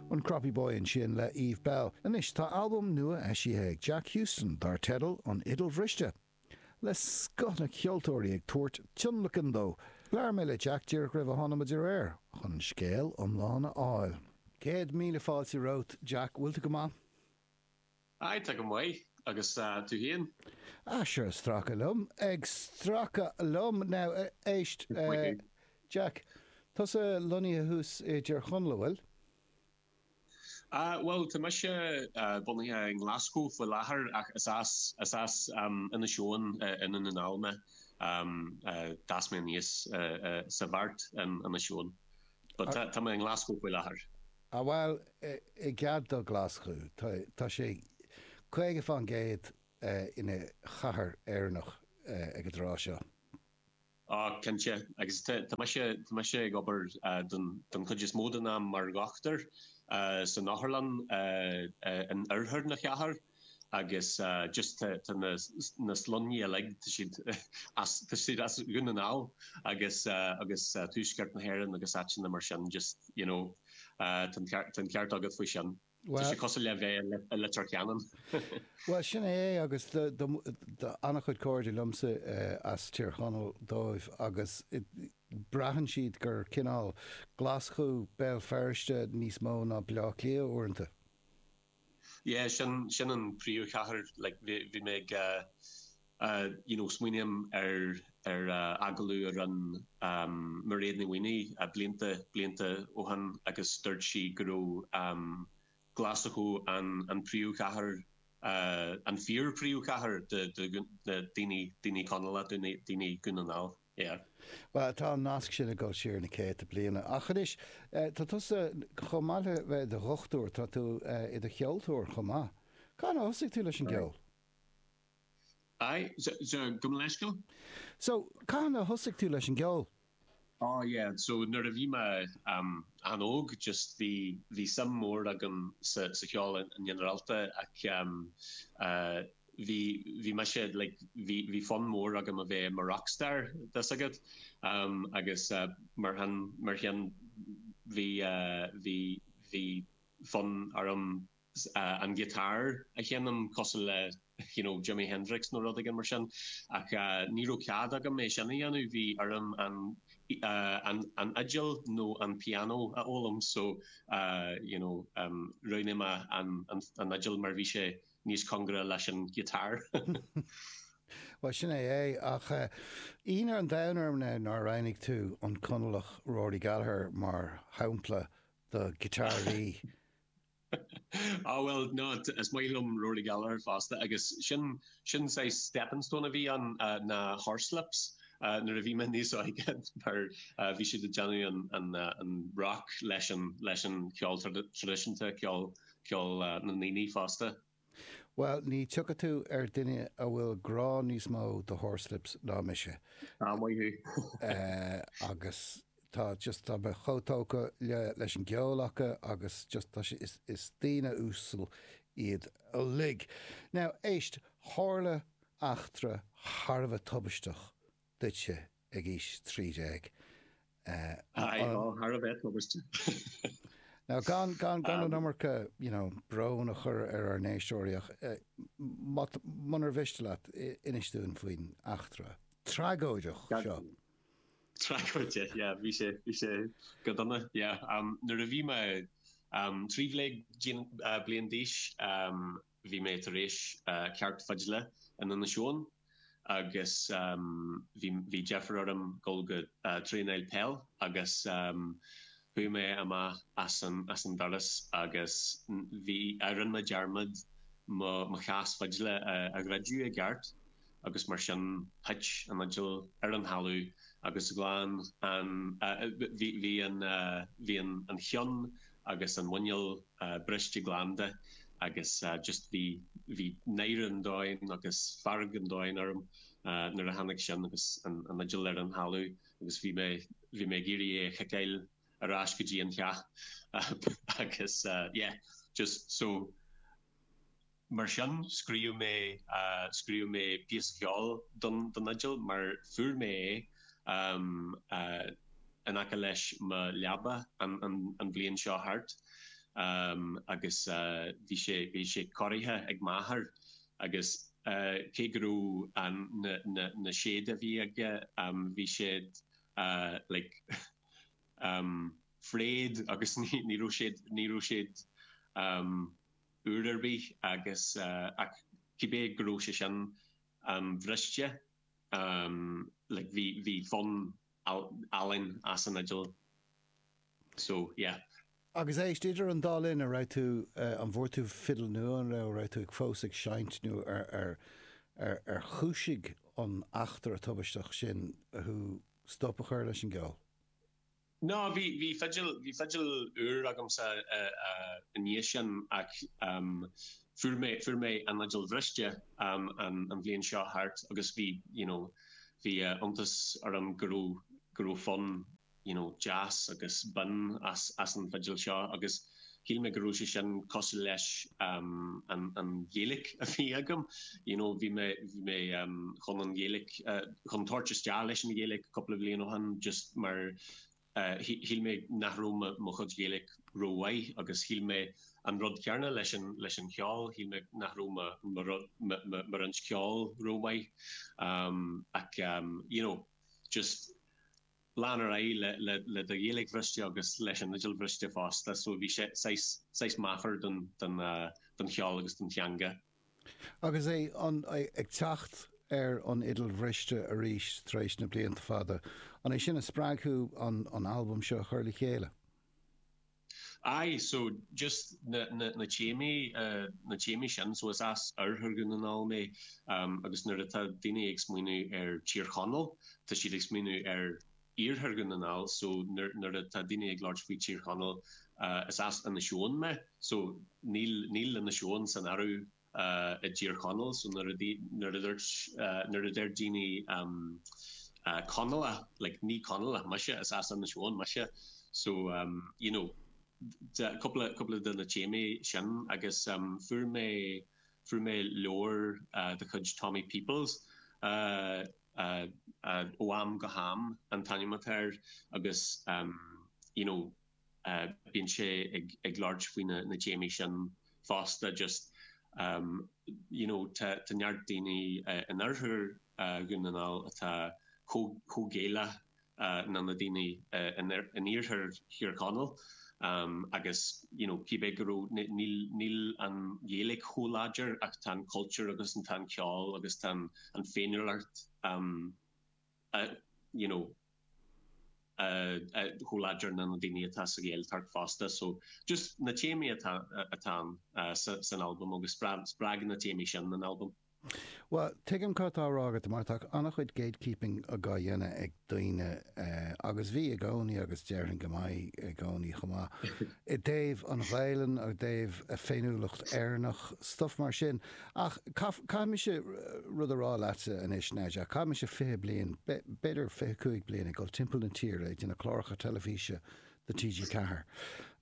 An Croppy Boy ansin le Eve Belle. Anois tá albam nua eisithe ag Jack Huston dar teideal An Fhidil Bhriste. Le scoth na ceoltóirí ag tabhairt tionlacan dó. Labhair mé le Jack díreach roimh a tháinig muid ar aer chun an scéal iomlán a fháil. 100,000 fáilte romhat Jack, bhfuil tú go maith? Aye, tá go maith. Agus tú féin? Ah, sure, ag stracadh liom. Ag stracadh liom. Now, éist, Jack, tusa lonnaithe thuas i dTír Chonaill, an bhfuil? Ah, bhuel, tá mise bunaithe i nGlaschú faoi láthair ach is as, is as Inis Eoghain i nDún na nGall mé. D'fhás mé aníos sa Bheart in Inis Eoghain. But tá mé i nGlaschú faoi láthair. Ah bhuel, i gcead do Ghlaschú, tá sé 50% ina chathair Éireannach ag an dtráth seo. Ah, cinnte. Agus tá mise, tá mise ag obair don, don chuid is mó den am mar dhochtúir san otharlann in oirthear na chathair agus just tá, tá na, na sloinní uilig, tá siad as, tá siad as Dhún na nGall agus, agus tuaisceart na hÉireann agus áiteanna mar sin, just, you know, tá an ceart, tá an ceart agat faoi sin. Tá sé cosúil le bheith i Leitir Ceanainn. Bhuel, sin é agus tá an-chuid cairde liomsa as Tír Chonaill dóibh agus braitheann siad gur cineál Glaschú, Béal Feirste níos mó ná Baile Átha Cliath uaireanta. Yeah, sin, sin an príomhchathair, like bhí, bhí mé ag you know smaoiním ar, ar agallamh a rinne Mairéad Ní Mhaonaigh blianta, blianta ó shin agus dúirt sí go raibh Glaschú an, an príomhchathair, an fíor príomhchathair do, do na daoine, daoine Conallacha, daoine, daoine Dhún na nGall. Yeah. Bhuel, tá an nasc sin ag dul siar na céadta bliana. Ach anois, tá tusa, chomh maith le bheith i do dhochtúir, tá tú i do cheoltóir chomh maith. Cathain a thosaigh tú leis an gceol? Aye, so, gabh mo leithscéal? So, cathain a thosaigh tú leis an gceol? Oh yeah, so nuair a bhí mé an-óg, just bhí, bhí suim mór agam sa, sa cheol i nginearálta ach bhí, bhí mise like, bhí, bhí fonn mór agam a bheith i mo rockstar, tá 's agat, agus mar shin, mar sin bhí, bhí, bhí fonn orm an guitar a sheinm cosúil le you know Jimi Hendrix nó rud éigin mar sin ach ní raibh cead agam é sin a dhéanamh, bhí orm an an an fhidil nó an pianó a fhoghlaim so you know roghnaigh mé an an fhidil mar bhí sé níos cóngaraí leis an guitar. Bhuel sin é é ach ionadh an domhain orm now nár roghnaigh tú an Conallach Rory Gallagher mar shampla do ghiotáraí. Ah bhuel, no, is maith liom Rory Gallagher fosta agus sin, sin saghas stepping stone a bhí ann na Horslips nuair a bhí mé níos óige mar bhí siad ag déanamh an, an, an rock leis an, leis an cheol traidisiúnta, ceol, ceol na ndaoine fosta. Bhuel, ní tiocfaidh tú ar duine a bhfuil grá níos mó do Horslips ná mise. Ah, maith thú. Agus tá just, tá mé chomh tógtha le, leis an gceol acu agus just tá sé, is, is daoine uasal iad uilig. Now, éist, tharla eachtra thar a bheith tubaisteach duitse ag aois 13. Aye, ó, thar a bheith tubaisteach. Now, gan, gan, gan an iomarca, you know, brón a chur ar ár n-éisteoirí ach má, munar mhiste leat, inis dúinn faoin eachtra tragóideach seo. Tragóideach, yeah, bhí sé, bhí sé go dona, yeah. Nuair a bhí mé 13 bliain d'aois, Bhí mé tar éis ceacht fidle in Inis Eoghain agus bhí bhí deifir orm dul go traenáil peil agus chuaigh mé amach as an as an doras agus bhí rinne mé dearmad mo mo chás fidle a a dhruideadh i gceart agus mar sin thit an fhidil ar an thalamh agus ghlan an bhí bhí an bhí an an cheann agus an muineál briste glan de agus just bhí bhí náire an domhain agus fearg an domhain orm nuair a tháinig sin agus an an fhidil ar an thalamh agus bhí mé bhí mé ag iarraidh é a chiceáil ar ais go dtí an teach agus yeah just so Mar sin, scríobh mé scríobh mé píosa ceoil don don fhidil mar fuair mé é in aice leis mo leaba an an an bhliain seo thart. Agus bhí sé, bhí sé cóirithe ag m'athair agus cé go raibh an, na, na, na séid a bhí aige, bhí siad like frayed agus ní, ní raibh siad, ní raibh siad úr ar bith agus ach cibé go raibh sé sin briste like bhí, bhí fonn álainn as an fhidil so yeah. Agus éist, idir an dá linn, an raibh tú, an bhfuair tú fidil nua, an raibh, raibh tú ag fós ag seinnt nó ar, ar, ar, ar chúisigh an eachtra tubaisteach sin thú stop a chur leis an gceol? No, bhí, bhí fidil, bhí fidil úr agamsa i ndiaidh sin ach fuair mé, fuair mé an fhidil bhriste an, an bhliain seo thart agus bhí, you know, bhí iontas orm go raibh, go raibh fonn you know, deas agus binn as, as an bhfidil seo agus shíl mé go raibh sé sin cosúil leis an, an Ghaeilge a bhí agam, you know, bhí mé, bhí mé chun an Ghaeilge, chun tabhairt isteach leis an Ghaeilge cúpla bliain ó shin just mar shíl mé nach raibh mo, mo chuid Ghaeilge rómhaith agus shíl mé an rud céanna leis an, leis an cheol, shíl mé nach raibh mo, mo rud, mo, mo, mo roinnt ceoil rómhaith ach you know, just lean ar aghaidh le le do Ghaeilge bhriste agus leis an fhidil bhriste fosta so bhí sé saghas saghas meafar don don don cheol agus don teanga. Agus é an ag teacht ar an fhidil bhriste arís tar éis na blianta fada, an é sin a spreag thú an an albam seo a chur le chéile? Aye, so just na na na téamaí na téamaí sin, so is as oirthear Dhún na nGall mé agus nuair atá daoine ag smaoineamh ar Tír Chonaill, tá siad ag smaoineamh ar iarthar Dhún na nGall, so nuair nuair atá daoine ag labhairt faoi Tír Chonaill, is as Inis Eoghain mé, so níl níl Inis Eoghain san áireamh i dTír Chonaill so nuair a nuair a dúirt nuair a deir daoine Conallach like ní Conallach mise is as Inis Eoghain mise so you know cúpla cúpla de na téamaí sin agus fuair mé fuair mé leabhar de chuid Tommy Peoples ó am go ham an t-ainm atá air agus you know bíonn sé ag labhairt faoi na téamaí sin fosta just you know tá neart daoine in oirthear Dhún na nGall atá chomh Gaelach ná na daoine in iarthar Thír Chonaill agus you know cibé go raibh níl níl an Ghaeilge chomh láidir ach tá an cultúr agus tá an ceol agus tá an féiniúlacht you know chomh láidir ná na daoine atá sa Ghaeltacht fosta. So just na téamaí atá atá ann san albam agus spreag na téamaí sin an albam. Bhuel, tuigim cad tá á rá agat mar tá an-chuid gatekeeping á dhéanamh ag daoine agus bhí i gcónaí agus déarfainn go mbeidh i gcónaí chomh maith i dtaobh an Ghaelainn, i dtaobh féiniúlacht Éireannach, stuff mar sin. Ach caithfidh mise rud a rá leatsa anois, now Jack, chaith mise 20 bliain, b'fhéidir 25 bliain ag dul timpeall na tíre ag déanamh cláracha teilifíse do TG4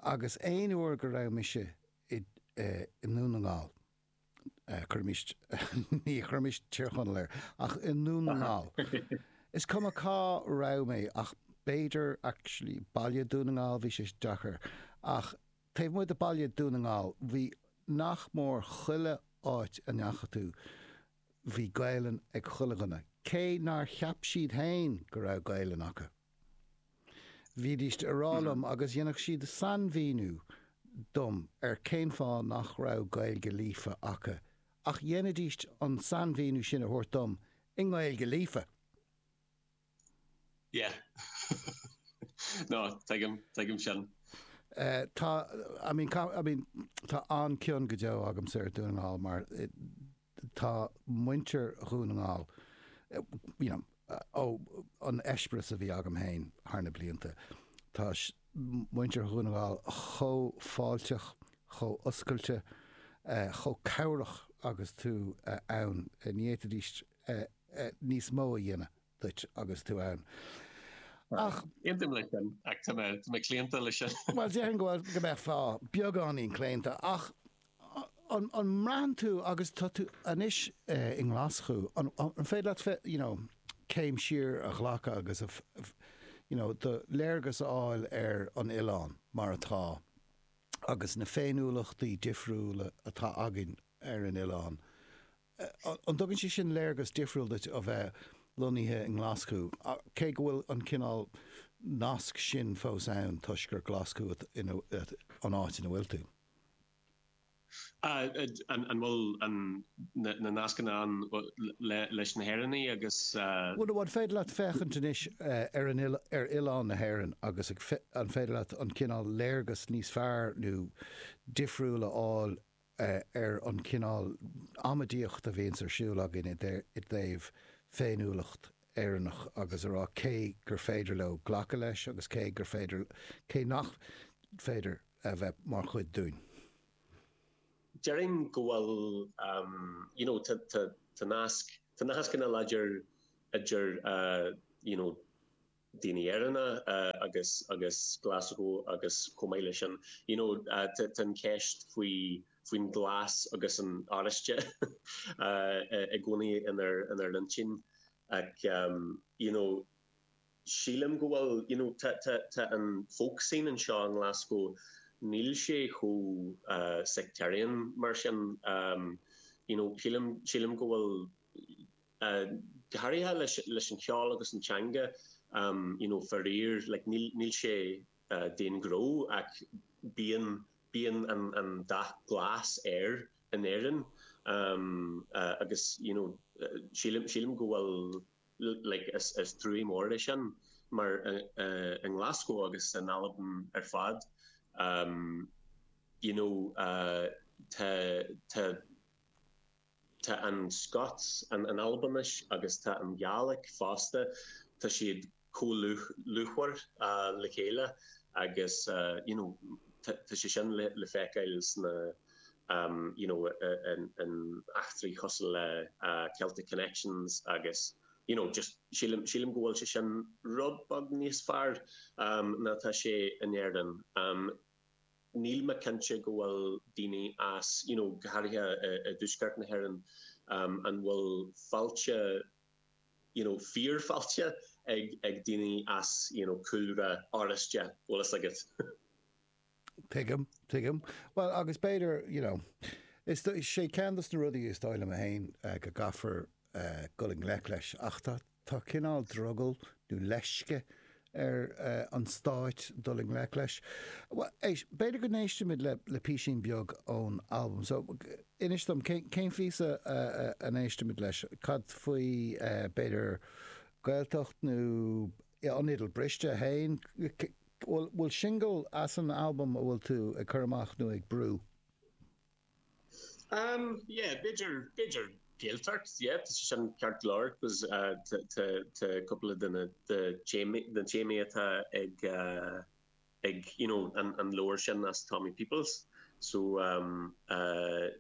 agus aon uair go raibh mise i nDún na nGall, cuirimis, ní chuirimis Tír Chonaill air, ach i nDún na nGall, is cuma cá raibh mé ach b'fhéidir actually baile Dún na nGall, bhí sé deacair ach Taobh amuigh de baile Dún na nGall, bhí nach mór chuile áit a ndeachaigh tú, bhí Gaelainn ag chuile dhuine, cé nár cheap siad fhéin go raibh Gaelainn acu. Bhídíst a rá liom agus dhéanfadh siad sainmhíniú dom ar cén fáth nach raibh Gaeilge líofa acu, ach dhéanfaidíst an sainmhíniú sin a thabhairt dom i nGaeilge líofa! Yeah. No, tuigim, tuigim sin. Tá, I mean, I mean, tá an-cion go deo agamsa ar Dhún na nGall mar tá muintir Dhún na nGall, you know, ó an eispéireas a bhí agam féin thar na blianta, tá muintir Dhún na nGall chomh fáilteach, chomh oscailte, chomh cabhrach agus tú ann. Ní fhéadfaidís níos mó a dhéanamh duit agus tú ann. Ach. Aontaím leis sin, ach tá mé, tá mé claonta leis sin. Bhuel, déarfainn go bhfuil, go mbeifeá beagáinín claonta, ach an, an mbraitheann tú, agus tá tú anois i nGlaschú, an, an féidir leat, you know, céim siar a ghlacadh agus a, you know, do léargas a fháil ar an oileán mar atá? agus na féiniúlachtaí difriúla atá againn ar an oileán, an dtugann sé sin léargas difriúil duit ó bheith lonnaithe i nGlaschú, cé go bhfuil an cineál nasc sin fós ann toisc gur Glaschú an áit ina bhfuil tú? An bhfuil na nascanna ann leis na hÉireannaigh agus. Bhuel, an féidir leat féachaint anois ar an ar oileán na hÉireann agus an féidir leat an cineál léargas níos fearr nó difriúil a fháil ar an cineál amaidíocht a bhíonns ar siúl againn i dtaobh féiniúlacht Éireannach agus a rá cé gur féidir leo glacadh leis agus cé gur féidir, cé nach féidir a bheith mar chuid dúinn. Déarfainn go bhfuil you know tá tá tá nasc tá nasc ana láidir idir you know daoine Éireannacha agus agus Glasgow agus chomh maith leis sin you know tá tá an ceist faoi faoin glas agus an oráiste i gcónaí inár inár n-intinn ach you know Sílim go bhfuil, you know, tá, tá, tá an folk scene anseo i nGlasgow, níl sé chomh sectarian mar sin, you know, sílim, sílim go bhfuil, go háirithe leis, leis an cheol agus an teanga, you know, faraor, like, níl, níl sé d'aon ghnó ach bíonn, bíonn an, an dath glas air in Éirinn agus, you know, sílim, sílim go bhfuil, like is trua mór é sin mar i nGlasgow agus in Albain ar fad you know tá tá tá an Scots an an Albainis agus tá an Gàidhlig fosta tá siad chomh lúthmhar le chéile agus you know tá sé sin le le feiceáil sna you know in eachtraí cosúil le Celtic Connections agus you know just sílim sílim go bhfuil sé sin rud beag níos fearr ná tá sé in Éirinn. Níl mé cinnte go bhfuil daoine as you know go háirithe i dtuaisceart na hÉireann an bhfuil fáilte you know fíorfháilte ag ag daoine as you know cúlra oráiste, bhfuil fhios agat. Tuigim, tuigim. Bhuel, agus b'fhéidir, you know, is sé ceann dos na rudaí is dóigh liom féin go gcaithfear dul i ngleic leis, ach tá, tá cineál drogall nó leisce ar an stáit dul i ngleic leis. Bhuel, éist, b'fhéidir go n-éistfimid le, le písín beag ón albam. So, inis dom, cén, cén phíosa a n-éistfimid leis? Cad faoi, b'fhéidir, Gaeltacht nó An Fhidil Briste féin? Bhfuil singil as an albam a bhfuil tú ag cur amach nó ag brú? Um yeah, b'fhéidir, b'fhéidir Gaeltacht, yeah, tá sé sin ceart go leor cos tá, tá, tá cúpla de na, de téamaí, na téamaí atá ag eh ag you know an, an leabhar sin as Tommy Peoples so um eh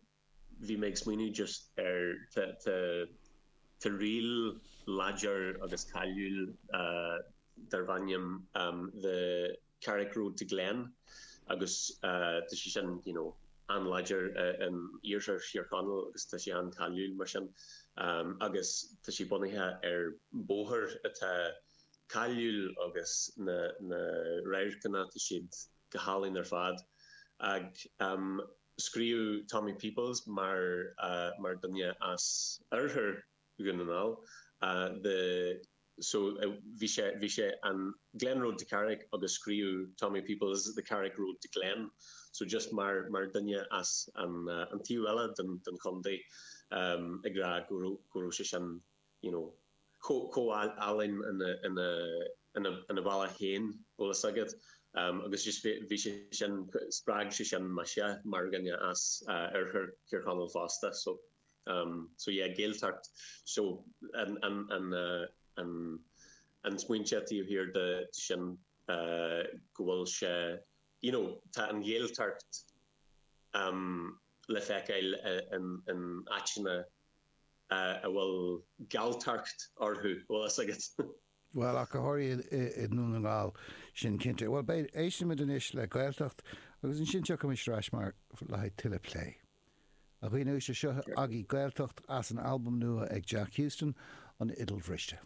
bhí mé ag smaoineamh just ar tá tá ríl láidir agus cáiliúil darb ainm The Carrick Road to Glen agus tá sé sin you know an-láidir in iarthar Thír Chonaill agus tá sé an-cáiliúil mar sin agus tá sé bunaithe ar bóthar atá cáiliúil agus na na radharcanna tá siad go hálainn ar fad ag Scríobh Tommy Peoples mar mar duine as oirthear Dhún na nGall the so bhí sé bhí sé an Glen Road to Carrick agus scríobh Tommy Peoples the Carrick Road to Glen so just mar mar duine as an an taobh eile den den chontae ag rá go raibh go raibh sé sin you know, chomh álainn ina ina bhealach féin, bhfuil fhios agat. Agus just bhí sé sin, spreag sé sin mise mar dhuine as oirthear Thír Chonaill fosta. So, so yeah, Gaeltacht, so an an an an an smaointe taobh thiar de sin go bhfuil sé, you know, tá an Ghaeltacht le feiceáil in in áiteanna a bhfuil Galltacht orthu, bhfuil fhios agat. Bhuel, ach go háirithe i nDún na nGall, sin cinnte. Bhuel, beidh, éistfimid anois le Gaeltacht agus ansin tiocfaimis ar ais mar le haghaidh tuilleadh plé. A dhaoine uaisle, seo agaibh Gaeltacht as an albam nua ag Jack Huston, An Fhidil Bhriste.